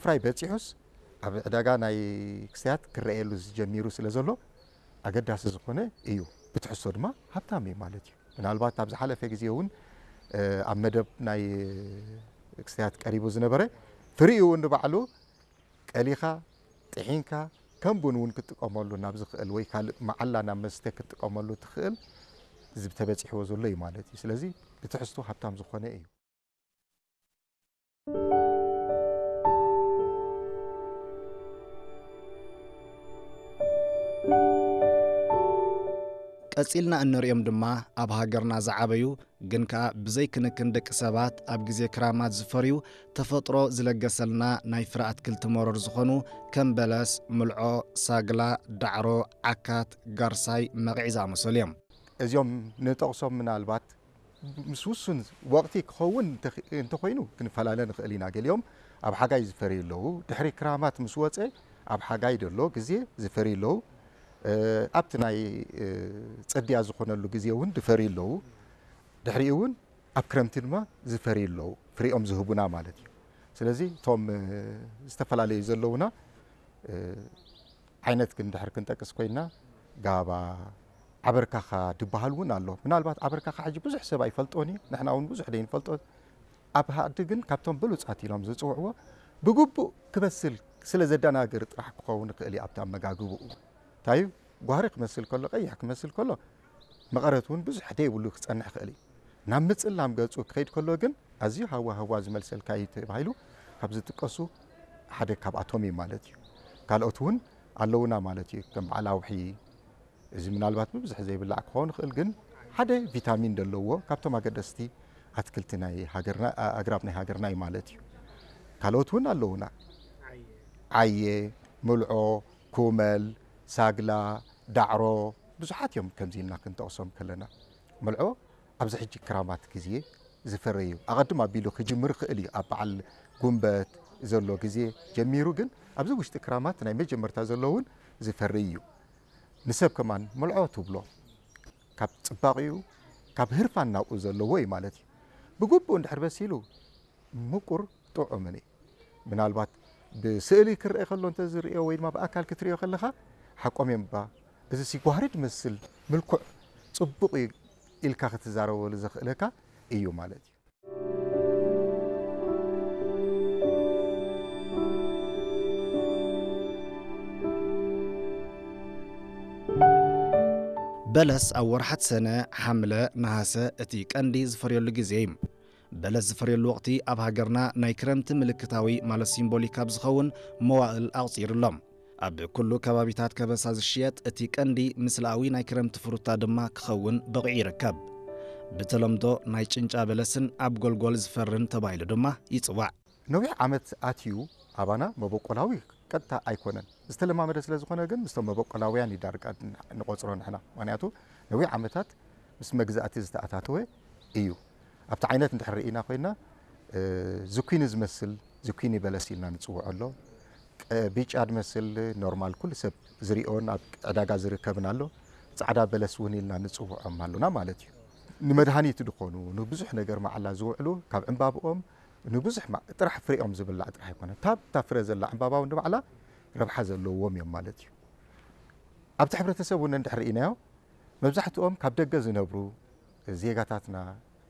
ክስታይ በጺሑስ ኣብ ዕዳጋ ናይ ክስታያት ክረኣየሉ ዝጀሚሩ ስለ ዘሎ ኣገዳሲ ዝኾነ እዩ። ብትሕዝቶ ድማ ሃብታም እዩ ማለት እዩ። ምናልባት ኣብ ዝሓለፈ ግዜ እውን ኣብ መደብ ናይ ክስታያት ቀሪቡ ዝነበረ ፍሪኡ እውን ንባዕሉ ቀሊኻ ጥሒንካ ከም ቡን እውን ክትጥቀመሉ ናብ ዝኽእል ወይ ካልእ መዓላ ናብ መስተ ክትጥቀመሉ ትኽእል እዚ ተበጺሕዎ ዘሎ እዩ ማለት እዩ። ስለዚ ብትሕዝቶ ሃብታም ዝኾነ እዩ። ቀጺልና እንርእዮም ድማ ኣብ ሃገርና ዝዓበዩ ግን ከኣ ብዘይ ክንክን ደቂ ሰባት ኣብ ግዜ ክራማት ዝፈርዩ ተፈጥሮ ዝለገሰልና ናይ ፍረ ኣትክልቲ መሮር ዝኾኑ ከም በለስ፣ ምልዖ፣ ሳግላ፣ ዳዕሮ፣ ዓካት፣ ጋርሳይ፣ መቒዕ ዝኣመሰሉ እዮም። እዚኦም ንጠቕሶም ምናልባት ምስ ውሱን ወቕቲ ክኸውን እንተኾይኑ ክንፈላለ ንኽእል ኢና። ገሊኦም ኣብ ሓጋይ ዝፈርዩ ኣለዉ። ድሕሪ ክራማት ምስ ወፀ ኣብ ሓጋይ ደሎ ግዜ ዝፈርዩ ኣለዉ። ኣብቲ ናይ ፅድያ ዝኾነሉ ግዜ እውን ዝፈርዩ ኣለዉ። ድሕሪኡ እውን ኣብ ክረምቲ ድማ ዝፈርዩ ኣለዉ። ፍሪኦም ዝህቡና ማለት እዩ። ስለዚ እቶም ዝተፈላለዩ ዘለዉና ዓይነት ግን ድሕር ክንጠቅስ ኮይና ጋባ ዓበርካኻ ድበሃል እውን ኣሎ። ምናልባት ዓበርካኻ ሕጂ ብዙሕ ሰብ ኣይፈልጦን እዩ፣ ንሕና እውን ብዙሕ ደይንፈልጦ። ኣብ ሃዲ ግን ካብቶም ብሉፃት ኢሎም ዝፅውዕዎ ብግቡእ ክበስል ስለ ዘደናግር ጥራሕ ክኸውን ይኽእል እዩ ኣብቲ ኣመጋግብኡ። እንታይ እዩ ጓህሪ ክመስል ከሎ ቀይሕ ክመስል ከሎ መቐረት እውን ብዙሕ ደይብሉ ክፀንሕ ይኽእል እዩ። ናብ ምጽላም ገጹ ክኸይድ ከሎ ግን ኣዝዩ ሃዋ ሃዋ ዝመልሰልካ እዩ ተባሂሉ ካብ ዝጥቀሱ ሓደ ካብኣቶም እዩ ማለት እዩ። ካልኦት እውን ኣለውና ማለት እዩ። ከም በዓል ኣውሒ፣ እዚ ምናልባት ብብዝሒ ዘይብላዕ ክኸውን ይኽእል፣ ግን ሓደ ቪታሚን ዘለዎ ካብቶም ኣገደስቲ ኣትክልቲ ናይ ሃገርና፣ ኣግራብ ናይ ሃገርና እዩ ማለት እዩ። ካልኦት እውን ኣለውና። ዓየ፣ ምልዖ፣ ኩመል፣ ሳግላ፣ ዳዕሮ፣ ብዙሓት እዮም ከምዚ ኢልና ክንጠቕሶም ከለና። ምልዖ ኣብዚ ሕጂ ክራማት ግዜ ዝፈሪ እዩ። ኣቐድም ኣቢሉ ክጅምር ይኽእል እዩ። ኣብ በዓል ጉንበት ዘሎ ግዜ ጀሚሩ ግን ኣብዚ ውሽጢ ክራማት ናይ መጀመርታ ዘሎ እውን ዝፈሪ እዩ። ንሰብ ከማን ምልዖ ትብሎ ካብ ጽባቕኡ ካብ ህርፋን ናብኡ ዘለዎ እዩ ማለት እዩ። ብግቡእ እንድሕር በሲሉ ምቁር ጥዑምን እዩ። ምናልባት ብስእሊ ክረአ ከሎ እንተዝርእዮ ወይ ድማ ብኣካል ክትርእዮ ከለኻ ሓቆም እዮም እባ እዚ ሲጓህሪ ድመስል ምልኩዕ ጽቡቕ እዩ ኢልካ ክትዛረበሉ ዘኽእለካ እዩ ማለት እዩ። በለስ ኣብ ወርሓት ሰነ፣ ሓምለ፣ ነሃሰ እቲ ቀንዲ ዝፈርየሉ ግዜ እዩ። በለስ ዝፈርየሉ ወቕቲ ኣብ ሃገርና ናይ ክረምቲ ምልክታዊ ማለት ሲምቦሊክ ኣብ ዝኸውን መዋእል ኣቑጺሩ ኣሎ። ኣብ ኩሉ ከባቢታት ከበሳ ዝሽየጥ እቲ ቀንዲ ምስላዊ ናይ ክረምቲ ፍሩታ ድማ ክኸውን በቒዑ ይርከብ። ብተለምዶ ናይ ጭንጫ በለስን ኣብ ጎልጎል ዝፈርን ተባሂሉ ድማ ይጽዋዕ። ነዊሕ ዓመት ኣትዩ ኣባና መበቆላዊ ቀጥታ ኣይኮነን። ዝተለማመደ ስለ ዝኾነ ግን ምስቶም መበቆላውያን እዩ ዳርጋ ንቖጽሮ ንሕና። ምኽንያቱ ነዊሕ ዓመታት ምስ መግዛእቲ ዝተኣታተወ እዩ። ኣብቲ ዓይነት እንድሕር ርኢና ኮይና እ፣ ዝኩኒ ዝመስል ዝኩኒ በለስ ኢልና ንጽውዖ ኣሎ። ቀ-፣ ቢጫ ዝመስል ኖርማል ኩሉ ሰብ ዝሪኦን ኣብ ዕዳጋ ዝርከብን ኣሎ። ጻዕዳ በለስ እውን ኢልና ንጽውዖም ኣሉና ማለት እዩ። ንመድሃኒት ዝኾኑ ንብዙሕ ነገር መዓላ ዝውዕሉ ካብ ዕምባብኦም ንብዙሕ ማ-፣ ጥራሕ ፍሬኦም ዝብላዕ ጥራሕ ኣይኮነ። ታብ እታ ፍረ ዘላ ዕምባባ እውን ንባዕላ ረብሓ ዘለዎም እዮም ማለት እዩ። ኣብቲ ሕብረተሰብ እውን እንድሕር ርኢናዮ መብዛሕትኦም ካብ ደገ ዝነብሩ ዜጋታትና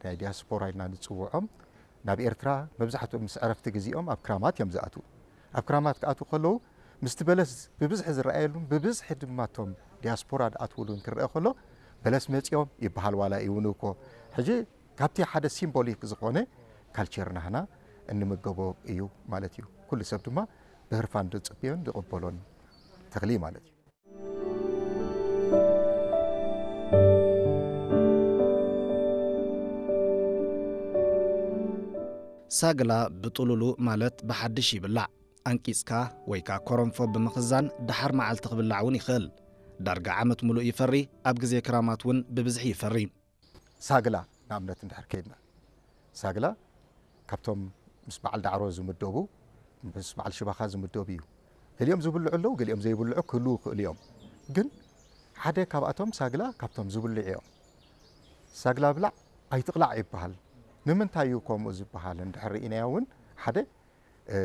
ናይ ዲያስፖራ ኢልና ንጽውዖም ናብ ኤርትራ መብዛሕትኦም ምስ ዕረፍቲ ግዜኦም ኣብ ክራማት እዮም ዝኣትዉ። ኣብ ክራማት ክኣትዉ ከለዉ ምስቲ በለስ ብብዝሒ ዝረኣየሉን ብብዝሒ ድማ እቶም ዲያስፖራ ዝኣትውሉን ክረአ ከሎ በለስ መጺኦም ይበሃል ዋላ ይውኑ እኮ። ሕጂ ካብቲ ሓደ ሲምቦሊክ ዝኾነ ካልቸር ናህና እንምገቦ እዩ ማለት እዩ። ኩሉ ሰብ ድማ ብህርፋን ዝጽብዮን ዝቕበሎን ተኽሊ ማለት እዩ። ሳግላ ብጥሉሉ ማለት ብሓድሽ ይብላዕ። ኣንቂጽካ ወይ ከኣ ኮረንፎ ብምኽዛን ደሓር መዓልቲ ክብላዕ እውን ይኽእል። ዳርጋ ዓመት ምሉእ ይፈሪ፣ ኣብ ግዜ ክራማት እውን ብብዝሒ ይፈሪ። ሳግላ ንኣብነት እንድሕር ከይድና ሳግላ ካብቶም ምስ በዓል ዳዕሮ ዝምደቡ ምስ በዓል ሽባኻ ዝምደቡ እዩ። ገሊኦም ዝብልዑ ኣለዉ፣ ገሊኦም ዘይብልዑ ክህልዉ ይኽእሉ እዮም። ግን ሓደ ካብኣቶም ሳግላ ካብቶም ዝብልዑ እዮም። ሳግላ ብላዕ ኣይትቕላዕ ይበሃል። ንምንታይ እዩ ከምኡ ዝበሃል እንድሕር ርኢናዮ እውን ሓደ እ፣